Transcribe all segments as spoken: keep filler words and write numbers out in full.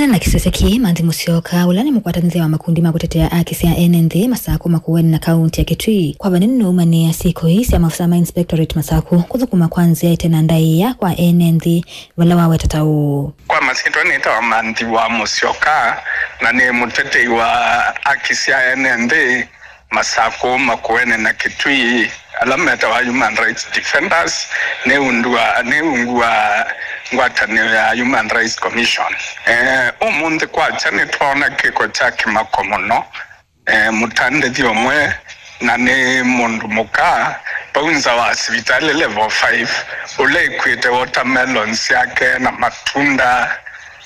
Na kĩsese kĩĩ, Manthi Mũsyoka, ũla nĩ mũkwatanĩthya wa makundi ma kũtetea aki sya ene nthĩ Masakũ, Makueni na kaunti ya Kitui, kwa vanene nũumanĩa syĩko ii sya maofisa ma Inspectorate Masakũ kũthũkũma kwa nzĩa ĩte na ndaĩa kwa ene nthĩ, vala waweta ta ũũ. Kwa masyĩtwa nĩtawa Manthi wa Mũsyoka, na nĩ mũtetei wa aki sya ene nthĩ Masakũ, Makueni na Kitui, ala metawa human rights defenders, nĩ undua, nĩ ungu wa ngwatanĩo ya Human Rights Commission. Eh, ũmũnthĩ kwakya nĩtwoona kĩko kya kĩmako mũno. Eh, mũtandĩthi ũmwe, na nĩ mũndũ mũka, vau nza wa sivitalĩ level five, ũla ĩkwĩte watermelon syake na matunda,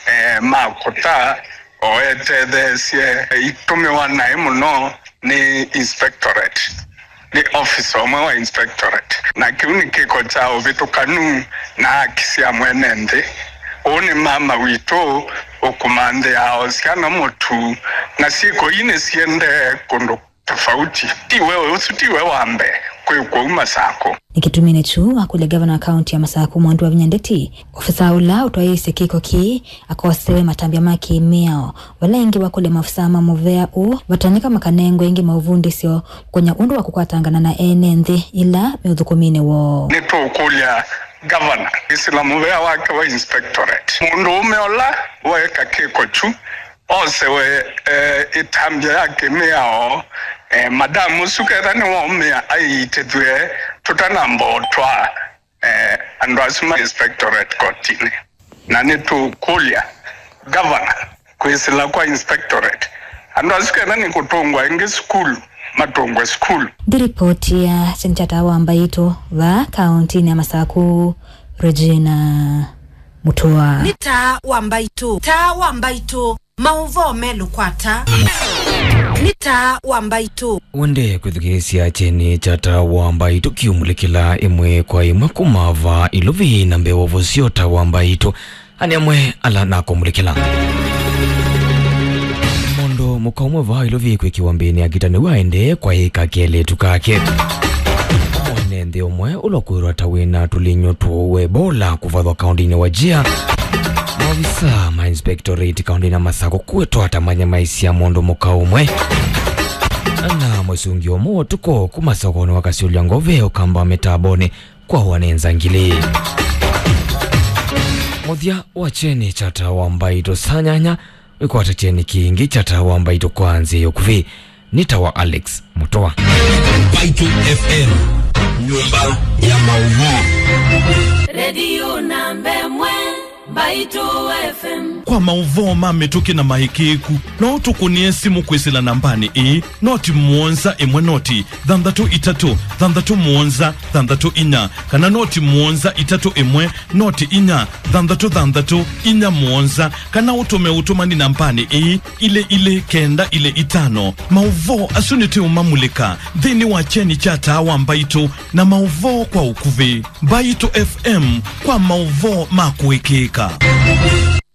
eh, ma kũta, o etetheesye, itũmĩwa naĩ mũno nĩ inspectorate, nĩ officer ũmwe wa inspectorate. Na kĩu nĩ kĩko kya ũvĩtũkanu na aki sya mwene nthĩ. Ũũ nĩ mama witũ ũkumanthĩaa o syana mũtu, na syĩko ii nĩsiendee kũndũ tofauti. Tiwe ũsu, tiwe wa mbee kwĩkwa ũu Masakũ. Nĩ kĩtuminĩ kyu wakũlya ngavana wa kaunti ya Masakũ, Mwandu wa Vinya Ndeti, ofisa ũla ũtwaĩĩsye kĩko kĩĩ akosewe matambya ma kĩ-mĩao, vala ĩngĩ wakũlya maofisa ma mũvea ũũ vatonyeka makanengwe ĩngĩ maũvundĩsyo kũkonya ũndũ wa kũkwatangana na ene nthĩ ĩla me ũthũkũminĩ woo. Nĩtũkũlya ngavana kwĩsĩla mũvea wake wa inspectorate, mũndũũme ũla weeka kĩko kyu, osewe, eh, ĩtambya ya kĩmĩao, eh, madamu ũsu ketha nĩwaũmĩa aiitĩthw'e tũtanamba ũtwaa, eh, andũ asu ma inspectorate kotinĩ. Na nĩtũkũlya ngavana kwĩsĩla kwa inspectorate, andũ asu ketha nĩ kũtũngwa ĩngĩ sukulu, matũngwe sukulu. Nthĩ ripoti ya Kyeni kya Taa wa Mbaitũ vaa kauntinĩ ya Masakũ, Regina Mutua. Nĩ Taa wa Mbaitũ, Taa wa Mbaitũ. Maũvoo melũ kwata. Nĩ Taa wa Mbaitũ. Wende kwĩthukĩĩsya Kyeni kya Taa wa Mbaitũ kĩũmulĩkĩla ĩmwe kwa ĩmwe kuma vaa Ilovi na mbee wa ũvosyo Taa wa Mbaitũ. Anĩ amwe ala nakũmulĩkĩla. Mũndũ mũka ũmwe vaa Ilovi kwĩkĩwa mbĩnĩ ya ngita nĩw'o aendee kwaĩka kelĩtu kake. Mwene nthĩ ũmwe ũla ũkwĩrwa ta wĩna tũlinyũ tũũ wa Ebola kũvathwa kaũndĩnĩ wa Wajir. Maovisa ma inspectorate kaũndĩnĩ ya Masakũ kwĩtwa ta manyamaisya mũndũ mũka ũmwe. Na mũsungi ũmwe wa ũtukũ kuma sokonĩ wa Kasyũlya Ngove ũkamba mĩtambonĩ kwawa nĩ nzangili. Mũthya wa Kyeni kya Taa wa Mbaitũ saa nyanya, wĩkwata Kyeni kĩngĩ kya Taa wa Mbaitũ kwa nzĩa ya ũkuvĩ. Nĩ Taa wa Alex Mutua. Mbaitũ F M, nyũmba ya maũvoo. Redio namba ĩmwe, Mbaitũ F M. Kwa maũvoo ma mĩtũkĩ na maĩkĩĩku, no ũtũkũnĩe simũ kwĩsĩla nambanĩ ĩĩ, noti mũonza ĩmwe noti thanthatũ itatũ thanthatũ mũonza thanthatũ inya, kana noti mũonza itatũ ĩmwe noti inya thanthatũ thanthatũ inya mũonza, kana ũtũme ũtũmani nambanĩ ĩĩ, ilĩ ilĩ kenda ilĩ itano. Maũvoo asu nĩtũũmamulĩka nthĩnĩ wa Kyeni kya Taa wa Mbaitũ na maũvoo kwa ũkuvĩ. Mbaitũ F M kwa maũvoo ma kũĩkĩĩka.